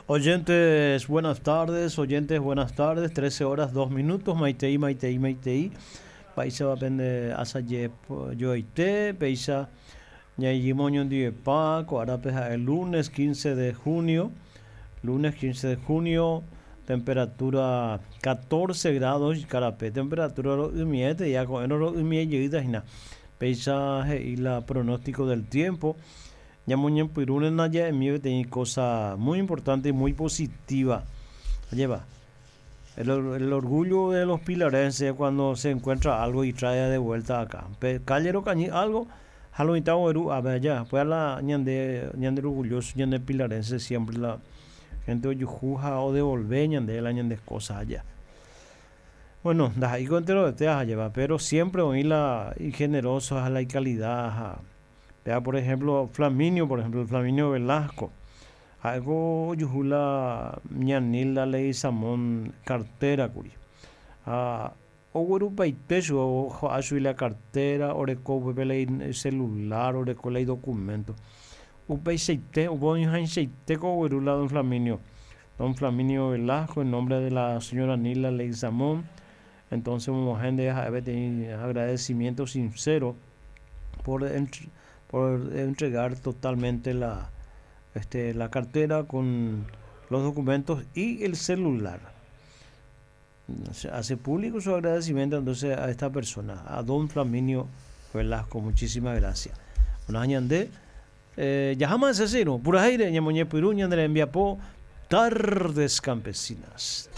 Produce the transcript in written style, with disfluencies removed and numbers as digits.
Oyentes, buenas tardes, oyentes, buenas tardes, 13 horas 2 minutos, maitei, maitei, maitei, mba'éichapa pende asaje joaite, péicha ñaijýma oñondivepa, ko árape ha'e lunes 15 de junio, lunes 15 de junio, temperatura 14 grados ikarape, temperatura ro'ymiéte, ya ko'ẽrõ ro'ymie jeýta hína, péicha he'i la pronóstico del tiempo, Ñamoñepyrũrena ja'emi peteĩ cosa muy importante y muy positiva. Ajépa? El, el orgullo de los pilarenses cuando se encuentra algo y trae de vuelta acá. Pe calle rokañy algo ha lo mitã ogueru ápe aja. Upéva la ñande, ñande orgulloso ñande pilarense siempre la gente ojuhu ha odevolve ñande la ñande cosa aja. Bueno, ndaha'éiko enterovete ajépa, pero siempre oĩ la igeneroso ha la icalidad ha Péva por ejemplo Flaminio, por ejemplo Flaminio Velasco, ha'éko ojuhu la ña Nilda Leguizamón cartera kuri. Ha oguerupaite chupe ojo'a chugui la cartera, oreko upépe la icelular, oreko la idocumento. Upeichaite, upe oñohãichaite ko ogueru la don Flaminio. Don Flaminio Velasco en nombre de la señora Nilda Leguizamón. Entonces omog̃uahẽ ndéve ha'e peteĩ agradecimiento sincero por por entregar totalmente la este la cartera con los documentos y el celular. Hace público su agradecimiento entonces a esta persona, a don Flaminio Velasco. Muchísimas gracias. Bueno, ñande eh, jaháma hese che irũ. Purahéire ñamoñepyrũ ñane rembiapo Tardes Campesinas.